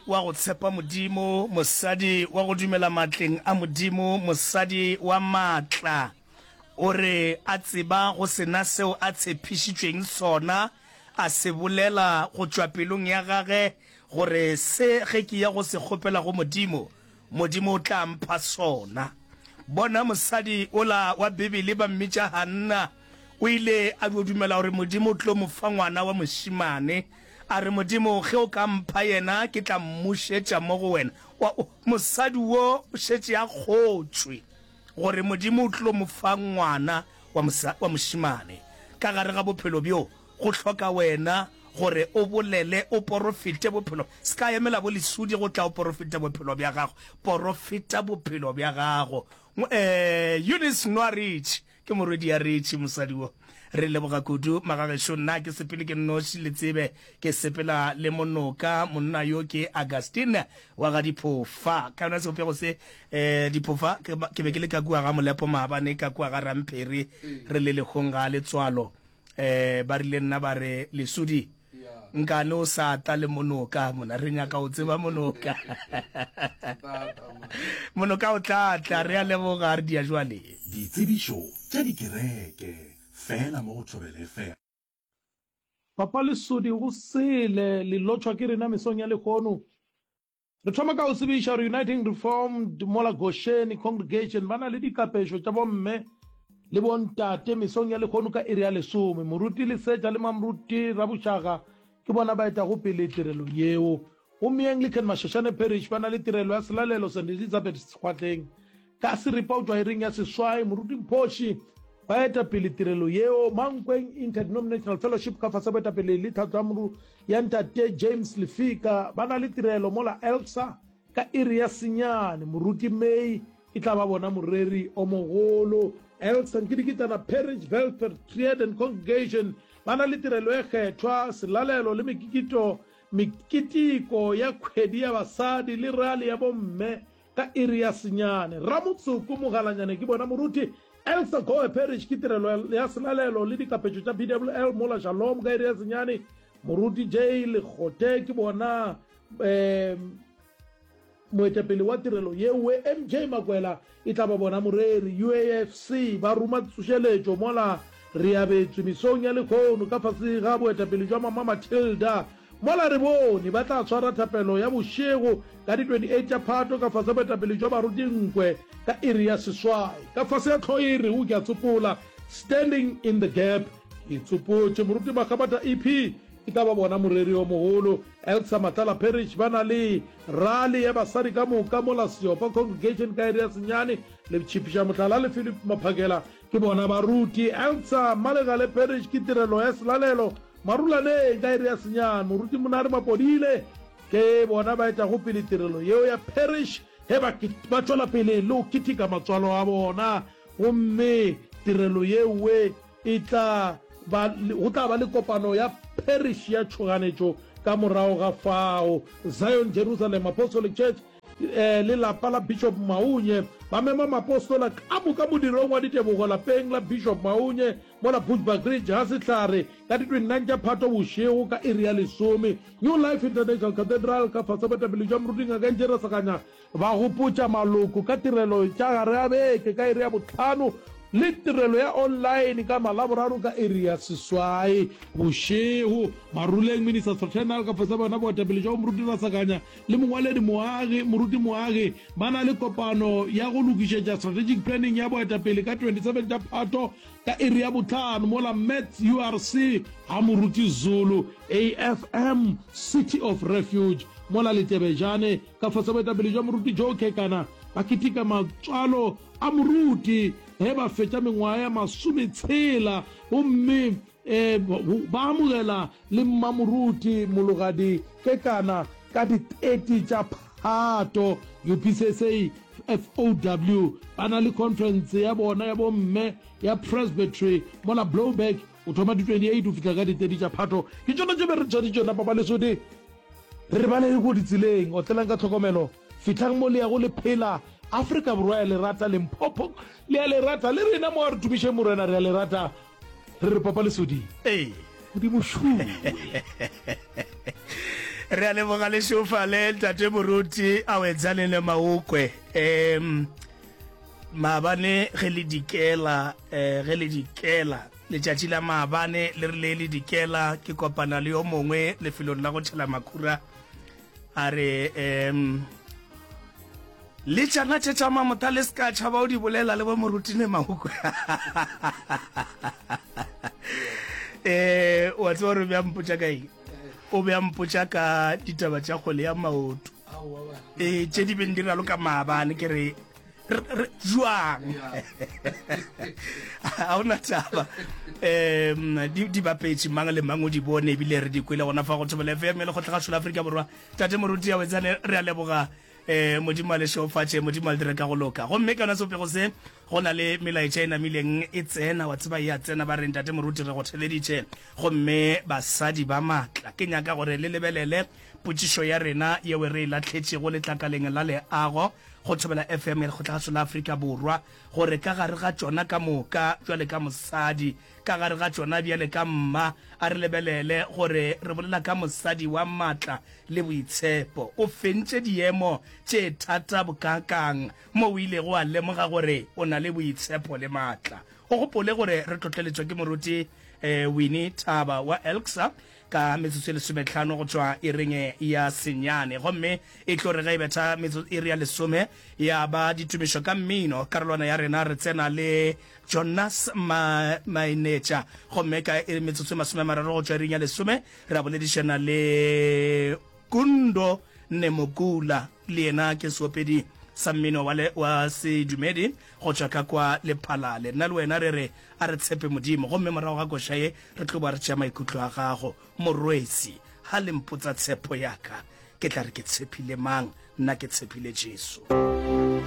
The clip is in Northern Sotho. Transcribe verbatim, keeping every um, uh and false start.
wa go tshepa Modimo, mosadi wa go dumela matleng a Modimo, mosadi wa maatla. O re a tseba go se na seo a tshepišitšweng sona, a se bolela go tšwa pelong ya gage gore se ge ke ya go se kgopela go Modimo, Modimo o tla mpha sona. Bona mosadi ola wa Bibele ba mmitša Hanna, o ile a dio dumela gore Modimo o tlo mo fa ngwana wa mošemane. A re, Modimo, ge o ka mpha yena, ke tla mmušetša mo go wena. Wa, mosadi wo o šetše a kgotšwe gore Modimo o tlo mo fa ngwana wa, mosa, wa mošemane. Ka gare ga bophelo bjo, go hloka wena gore o bolele, o porofete bophelo. Se ka emela bo lesudi go tla o porofeta bophelo bja gago. Porofeta bophelo bja gago. Eh, Eunice Nwarich, ke morwedi ya Richie, mosadi wo. Re leboga kudu, magagešo. Nna ke sepele ke nnoši, le tsebe ke sepela le monoka. Monna yo ke Augustine wa ga Diphofa. Ka yona sebopego se, eh, Diphofa, ke, ke be ke le ka kua ga Molepo maabane, ka kua ga Ramphiri, re le lehong ga letswalo. Eh, ba rile nna ba re, Lesudi, nkane o sa tla le monoka mona, re nyaka o tseba monoka. Monoka o tla tla, re a leboga, re dia jwale. Ditsebišo tša dikereke, fela mo go Thobela F M. Papa Lesodi go sele le lotšhwa ke rena mesong ya lehono. Re thoma ka go tsebiša gore Uniting Reformed mola Gosheni Congregation ba na le dikapešo tša bomme le bontate mesong ya lehono ka iri ya lesome. Moruti Lesetša le Mamruti Rabošaga ke bona ba etago pele tirelo yeo. Gomme Anglican Mashashane Parish ba na le tirelo ya selalelo Saint Elizabeth Sekgwatleng ka seripa go tšwa iring ya seswai. Moruti Mphoši ba eta pele tirelo yeo. Mankweng Interdenominational Fellowship ka fase boetapele le tlhatlo ya ntate James Lefika ba na le tirelo mola Elsa ka iri ya senyane. Moruti May e tla ba bona moreri o mogolo. Elsa Nkidikitana Parish Welfare Triad and Congregation ba na le tirelo e kgethwa, selalelo le mekikito, meketeko ya kgwedi ya basadi le rally ya bomme ka iri ya senyane. Ramotsoko Mogalanyane ke bona moruti. Elsa Goe Parish ke tirelo ya selalelo le dikapetšo tša P W L mola Shalom ka iri ya senyane. Moruti J Lekgote ke bona um moetapele wa tirelo yewe. M J Makwela e tla ba bona moreri. U A F C ba ruma tsošeletšo mola re abetswe mesong ya lehono ka fase ga boetapele jwa Mama Matilda. Mola re bone ba tla tshwara thapelo ya bošego ka di twenty-eight tša Phato ka fase boetapele jwa baruti Nkwe ka iri ya seswai. Ka fase ya tlhogo e rego ke a tsopola, Standing in the Gap, ke tsopotše moruti Makgabata E P e tla ba bona moreri o mogolo. Elsa Matlala Parish ba na le rally ya basadi ka moka mola Seopa Congregation ka iri ya senyane. Le Tšhipiša Mohlala le Philip Maphakela ke bona baruti. Elsa Malegale Parish ke tirelo ya selalelo Marulaneng ka iri ya senyane. Moruti Monare Mapodile ke bona ba etago pele tirelo yeo ya parish ge ba ba tšwela pele le go keteka matswalo a bona. Gomme tirelo yewe e tla ba, go tla ba le kopano ya parish ya tšhoganetšo ka morago ga fao. Zion Jerusalem Apostolic Church eh, le lapa la Bishop Maunye ba mema mapostola ka moka modirong wa ditebogo lapeng la Bishop Maunye mola Bushbuck Ridge ga Sehlare ka di twenty-nine tša Phato bošego ka iri ya lesome. New Life International Cathedral ka fase boetapele jwa moruti Ngaka Njera Seganya ba gopotša maloko ka tirelo tša gare a beke ka iri ya bohlano le tirelo ya online ka Malaboraro ka iri ya seswai bošego. Maruleng Ministers Fraternal ka fase bona boetapele jwa moruti Rasakanya le mongwaledi Moagi, moruti Moagi ba na le kopano ya go lokišetša strategic planning ya boetapele ka twenty-seven tša Phato ka iri ya bohlano mola Mets U R C ga moruti Zulu A F M City of Refuge mola Letebejane ka fase boetapele jwa moruti Joe Kekana ba keteka matswalo a moruti ge ba fetša mengwaga ya masometshela gomme eh, ba amogela le mmamoruti Mologadi Kekana ka di thirty tša Phato. U P C S A F O W ba na le conference ya bona ya bomme ya Presbytery mola Blowback o thoma di twenty-eight o fihla ka di thirty tša Phato. Ke tšona tše be re tshware tšona Papa Lesodi, re re balele ko ditseleng, otlelang ka tlhokomelo, fihlang mo le yago le phela. Afrika Borwa ya le rata, Limpopo le ya le rata, le rena mo a re tumišeng Morena re ya le rata. Re re Papa Lesodi, Ee. Modimo šuwe. Re a leboga lešofale ntate moruti a wetsane le maokwe. Um maabane ge le dikela, eh, ge le dikela letšatši la maabane le rile le dikela, ke kopana le yo mongwe lefelong la go tšhela makhura, a re um le tšana tše tša mamota le se ka tšhaba o di bolela le bo morutine maokwe. Eh, wa tseba gore o be a mpotša ka eng? O be a mpotša ka ditaba tša kgwele ya maoto. Eh, tše di beng di raloka maabane, ke re jwang? Ga ona taba. Um di, di bapetše, mang le mang o di bone, ebile re di kwele gona fa go Thobela F M ya Lekgotlagašo la Afrika Borwa. Tate Moruti a wetsane, re a leboga. Eh, Modimo a le šeofatše, Modimo a le dire ka go loka. Gomme ka yona sebopego se, go na le melaetša e namileng e tsena, wa tseba e a tsena, ba re, Ntate Moruti, re go theleditše. Gomme basadi ba maatla, ke nyaka gore le lebelele potšišo ya rena yeo re e lahletšego letlakaleng la leago go Thobela F M ya Lekgotlagašo la Afrika Borwa, gore ka gare ga tšona ka moka, bjale ka mosadi, ka gare ga tšona bjale ka mma, a re lebelele gore re bolela ka mosadi wa maatla le boitshepo. O fentše diemo tše thata bokaakang mo o ilego wa lemoga gore o na le boitshepo le maatla. O gopole gore re tlotleletšwa ke Moruti Winnie Thaba wa Elksa ka metsotso e lesometlhano go tšwa iring ya senyane, gomme e tlo re ge e betha metsotso iri ya lesome ya ba ditumišo ka mmino. Karolwana ya rena re tsena le Jonas Ma, Mainetša, gomme ka metsotso e masome a mararo go tšwa iring ya lesome ra boledišana le Kundo Nemokula, le yena ke seopedi sa mmino wa, le, wa sedumedi go tšwa ka kwa Lephalale. Nna le wena re re a re tshepe Modimo, gomme morago ga koša ye re tlo ba re tšea maikutlo a gago. Morwesi, ha le mpotsa tshepo ya ka, ke tla re ke tshepile mang? Nna ke tshepile Jesu.